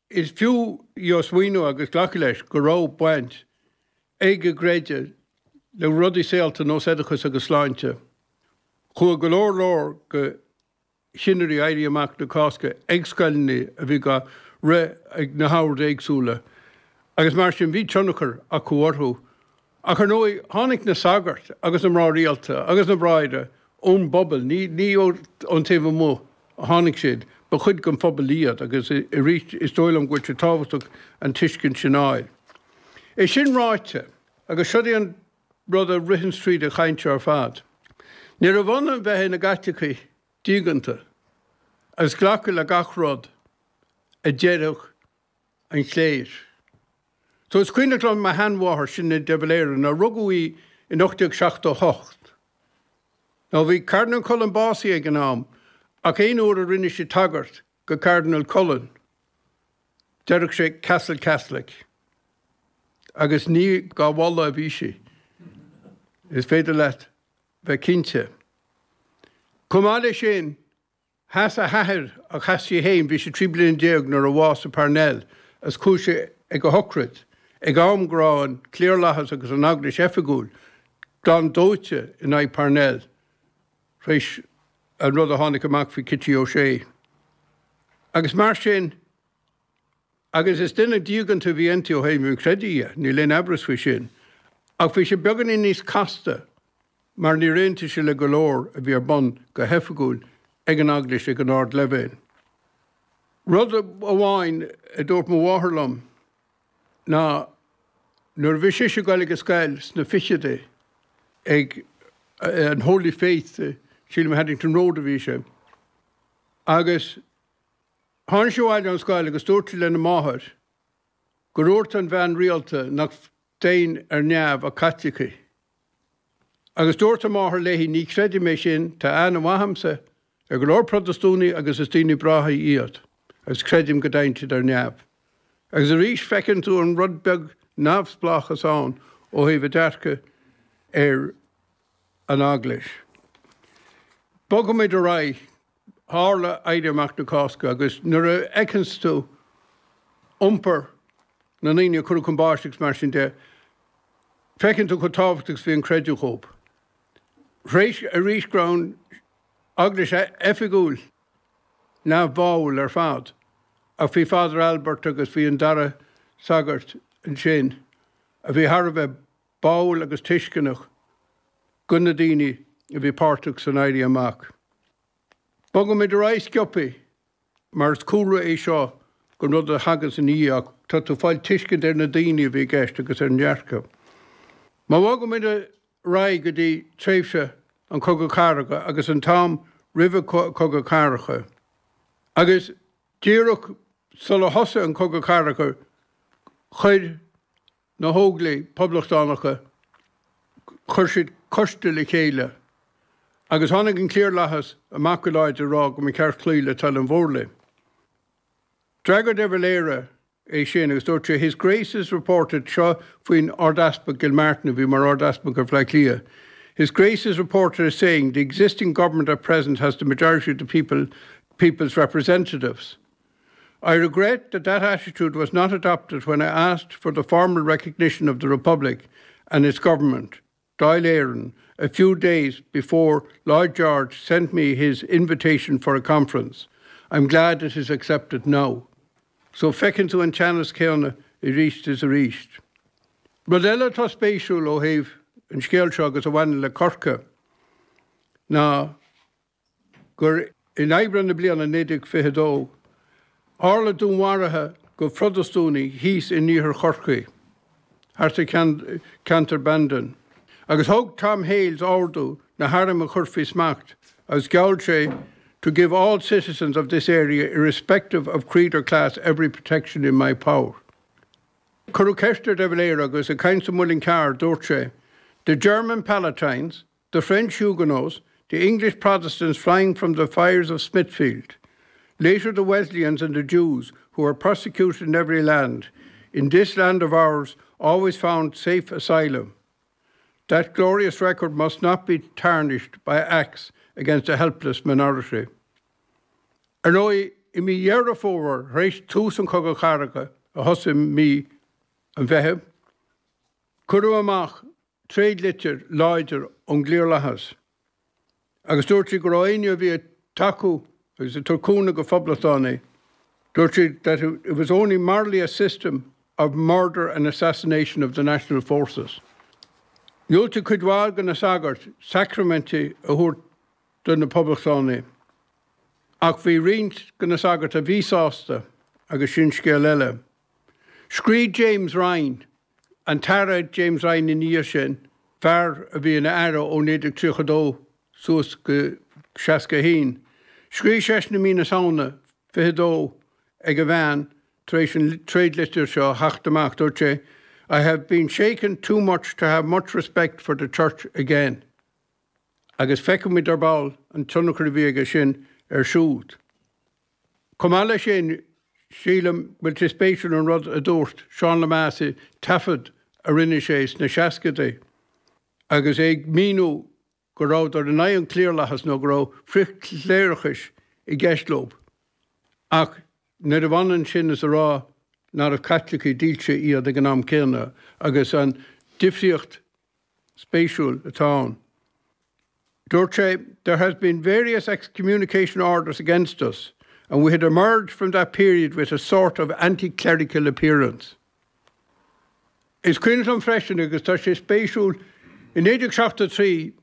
Is fiú smaoineamh agus glacadh leis go raibh baint ag a gcreideamh le rudaí saolta nós oideachas agus sláinte. Chuaigh go leor leor de chinnirí Éirí Amach na Cásca ag scoileanna a bhí á rith ag na hoird éagsúla agus mar sin bhí tionchar acu orthu. Ach ar ndóigh tháinig na sagairt agus na mná rialta agus na bráithre ón bpobal, ní ón taobh amuigh a tháinig siad, ba chuid den phobal iad agus arís is dóigh liom go bhfuil sé tábhachtach an tuiscint sin a fháil. É sin ráite, agus seo é an rud a ritheanns tríd an chaint seo ar fad, níorbh ionann bheith ina gCaitlicigh diaganta agus glacadh le gach rud a déarfadh an chléir. So is cuimhneach liom mo sheanmháthair, Sinéad de Valera, nó rugadh í in 1878. Now bhí Cardinal Cullen básaithe ag an am ach aon uair a rinne sí tagairt go Cardinal Cullen déarfadh sí Castle Catholic agus ní dhá mholadh a bhí sí. Is féidir leat bheith cinnte. Chomh maith leis sin, Sheas a hathair ach sheas sí féin, bhí sí 13 bliana nuair a bhásaigh Parnell, agus chuaigh sí ag a shocraid, ag am go raibh an cliarlathas agus an Eaglais oifigiúil glan dóite in aghaidh Parnell tar éis an rud a tháinig amach faoi Kitty O'Shea. Agus mar sin, agus is duine diaganta a bhí inti ó thaobh an chreidimh dhe, níl aon aimhreas faoi sin, ach bhí sé beagáinín níos casta mar níor aontaigh sí le go leor a bhí ar bun go hoifigiúil ag an Eaglais ag an ardleibhéal. Rud amháin a dúirt mo mháthair liom ná nuair a bhí sise ag dul ag an scoil sna fichidí ag an Holy Faith, sílim Haddington Road a bhí sé, agus tháinig sí abhaile ón scoil agus dúirt sí lena máthair gur dhúirt an bhean rialta nach dtéann ar neamh ach Caitlicigh. Agus dúirt a máthair léi, Ní chreidim é sin, tá aithne mhaith a'msa ar go leor Protastúnaigh agus is daoine breátha iad, agus creidim go dtéann siad ar neamh. Agus arís feiceann tú an rud beag neamhspleáchas ann ó thaobh a dearcadh ar an Eaglais. Bogfaimid ar aghaidh. Tharla Éirí Amach na Cásca agus nuair a fheiceanns tú iompar na ndaoine a cuireadh chun báis agus mar sin de, feiceann tú chomh tábhachtach is a bhí an creideamh dhóibh. Tar éis arís go raibh an Eaglais oifigiúil neamhbháúil ar fad, ach bhí Father Albert agus bhí an dara sagart ansin a bhí thar a bheith báúil agus tuisceanach go na daoine a bhí páirteach san Éirí Amach. Bogfaimid ar aghaidh sciobtha mar is cúlra é seo don rud a thagas ina dhiaidh ach tá tú ag fáil tuiscint ar na daoine a bhí i gceist agus ar an ndearcadh. Má bhogaimid ar aghaidh go dtí tréimhse an Chogadh Cathartha agus an t-am roimh an Chogadh Cathartha agus díreach sular thosaigh an Cogadh Cathartha chuir na hÓglaigh Poblachtánacha, chuir siad coiste le chéile agus tháinig an cliarlathas amach go láidir ag rá go mba cheart cloí le toil an mhórlaigh. D'fhreagair de Valera é sin agus dúirt sé, His Grace is reported, seo faoin Ard-Easpag Gilmartin a bhí mar Ard-Easpag ar Bhaile Átha Cliath, His Grace is reported as saying the existing government at present has the majority of the people, people's representatives. I regret that that attitude was not adopted when I asked for the formal recognition of the Republic and its government, Dáil Éireann, a few days before Lloyd George sent me his invitation for a conference. I'm glad it is accepted now. So feiceann tú an teannas céanna arís is arís. Rud eile atá spéisiúil ó thaobh an scéil seo agus a bhaineann le Corcaigh ná gur in Aibreán na bliana 1922, tharla dúnmharuithe go Phrotastúnaigh thíos in iarthar Chorcaí, thart ar cheantar Bandon, agus thug Tom Hales ordú na hairm a chur faoi smacht agus gheall sé to give all citizens of this area irrespective of creed or class every protection in my power. Cuireadh ceist ar de Valera agus ag caint sa Muileann Cearr dúirt sé, The German Palatines, The French Huguenots, the English Protestants flying from the fires of Smithfield, later the Wesleyans and the Jews who were persecuted in every land, in this land of ours always found safe asylum. That glorious record must not be tarnished by acts against a helpless minority. Ar ndóigh, i mí Dheireadh Fómhair, tar éis tús an Chogadh Chathartha a thosaigh mí an Mheithimh, cuireadh amach tréadlitir láidir ón gcliarlathas agus dúirt siad go raibh éinne a bhí ag tacú agus ag tabhairt cúnamh go phoblachtánaigh, dúirt siad that it was only morally a system of murder and assassination of the national forces. Dhiúltaigh cuid mhaith de na sagairt sacraimintí a thabhairt do na poblachtánaigh ach bhí roinnt de na sagairt a bhí sásta agus sin scéal eile. Scríobh James Ryan, an tAire James Ryan ina dhiaidh sin, fear a bhí ina aire ó 1932 suas go 61, scríobh seisean i mí na Samhna 22 ag a bhean tar éis an tréadlitir seo a theacht amach, dúirt sé, I have been shaken too much to have much respect for the Church again. Agus feicfimid ar ball an tionchar a bhí aige sin air siúd. Chomh maith leis sin, sílim go bhfuil sé spéisiúil an rud a dúirt Seán Lemass i taifead a rinne sé sna seascaidí agus é ag míniú go rabhadar in aghaidh an chliarlathais nó go raibh frithchléireachais i gceist leo. Ach níorbh ionann sin is a rá nárbh Caitlicigh dílse iad ag an am céanna agus an difríocht spéisiúil atá ann. Dúirt sé, There has been various excommunication orders against us and we had emerged from that period with a sort of anti-clerical appearance. Is cuimhin liom freisin, agus tá sé spéisiúil, i 1973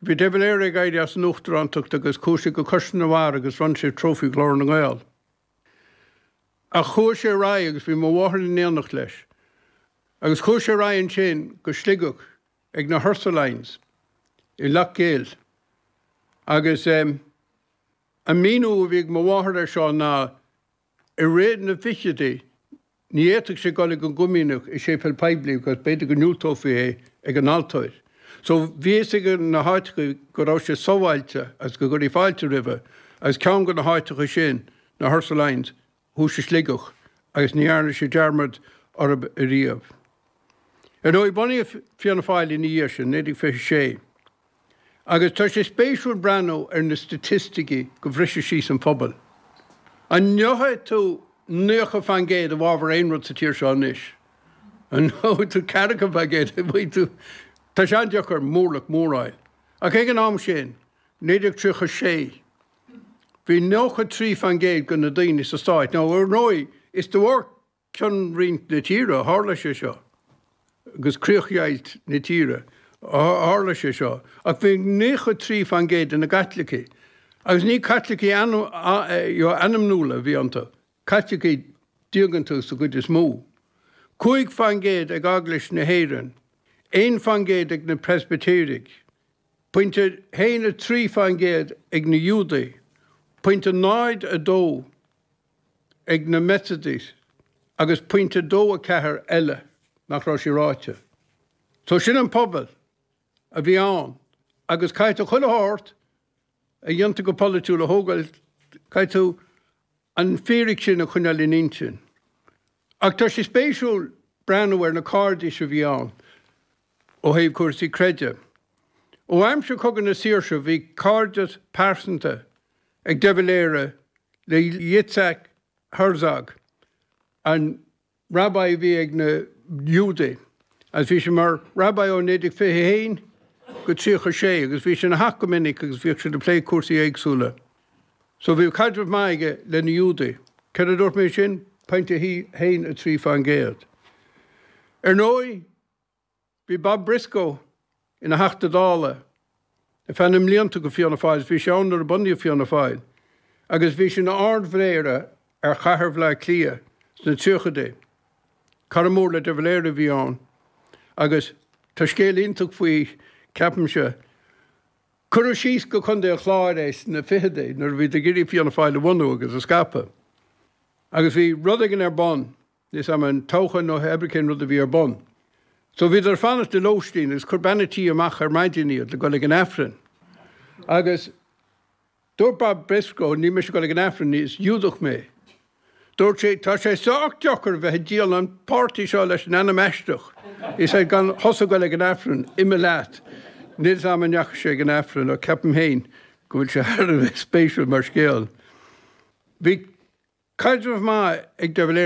bhí de Valera ag éirí as an uachtarántacht agus chuaigh sé go Cois na bhFear agus bhronn sé Trófaí Ghlór na nGael. Ach chuaigh sé ar aghaidh agus bhí mo mháthair in éineacht leis agus chuaigh sé ar aghaidh ansin go Sligeach ag na Ursulines i Loch gCill agus an míniú a bhí ag mo mháthair air seo ná i rith na bhfichidí ní fhéadfadh sé dul ag an gcomaoineach i séipéal poiblí because b'fhéidir go ndiúltófaí é ag an altóir. So bhí fhios ag na háiteacha go raibh sé sábháilte agus go gcuirfí fáilte roimhe agus ceann de na háiteacha sin, na Ursulines, thuas i Sligeach agus ní dhearna sé dearmad orthu ariamh. Ar ndóigh, bunaíodh Fianna Fáil ina dhiaidh sin, 1926, agus tá sé spéisiúil breathnú ar na staitisticí go bhriseadh síos an phobal. An ngeobhaidh tú 90% i bhfabhar aon rud sa tír seo anois? An ngeobhaidh tú 40%? An bhfaighidh tú? Tá sé an-deacair mórlach mór a fháil. Ach ag an am sin, 1936, Bhí 93% de na daoine sa stát, nó ar ndóigh is de bharr cionroinnt na tíre a tharla sé seo, agus críochdheighilt na tíre a tharla sé seo, ach bhí 93% de na gCaitlicigh, agus ní Caitlicigh ainmniúla a bhí iontu, Caitlicigh diaganta sa gcuid is mó, 5% ag Eaglais na hÉireann, 1% ag na Preispitéirigh, Pointe 1 3% ag na Iúdaigh, pointe 0 2 ag na Methodist agus pointe 2 4 eile nach raibh sé ráite. So sin an pobal a bhí ann agus caithfidh tú chuile shórt a dhéantar go polaitiúil a thógáil, caithfidh tú an fíric sin a choinneáil in intinn. Ach tá sé spéisiúil breathnú ar na cairdis a bhí ann ó thaobh cúrsaí creidimh. Ó aimsir Chogadh na Saoirse bhí cairdeas pearsanta ag de Valera le Yitzhak Herzog, an rabbi a bhí ag na Giúdaigh agus bhí sé mar rabbi ó 1921 go 36 agus bhí sé ina theach go minic agus bhíodh siad ag plé cúrsaí éagsúla. So bhí caidreamh maith aige le na Giúdaigh. Céard a dúirt mé ansin? Pointe 1 3%. Ar ndóigh, Bhí Bob Briscoe ina Theachta Dála ar feadh na mblianta go Fianna Fáil agus bhí sé ann nuair a bunaíodh Fianna Fáil agus bhí sé ina Ard-Mhéara ar chathair Bhaile Átha Cliath sna tríochaidí. Cara mór le de Valera a bhí ann agus tá scéal iontach faoi, ceapaimse. Cuireadh síos go Contae an Chláir é sna fichidí nuair a bhíodar ag iarraidh Fianna Fáil a bhunú agus a scaipeadh agus bhí rud éigin ar bun Níl 's a'm an toghchán nó pé ar bith cén rud a bhí ar bun. So bhíodar ag fanacht i lóistín agus chuir bean a' tí amach ar maidin iad le dul ag an Aifreann. Agus dúirt Bob Briscoe, níl mise ag dul ag an Aifreann, is Giúdach mé. Dúirt sé, tá sé sách deacair bheith ag díol an páirtí seo leis an ainm aisteach. He said, gan thusa ag dul ag an Aifreann, imigh leat. Níl 's a'm an ndeachaigh sé ag an Aifreann ach ceapaim féin go bhfuil sé thar a bheith spéisiúil mar scéal. Bhí. caidreamh maith ag de Valera.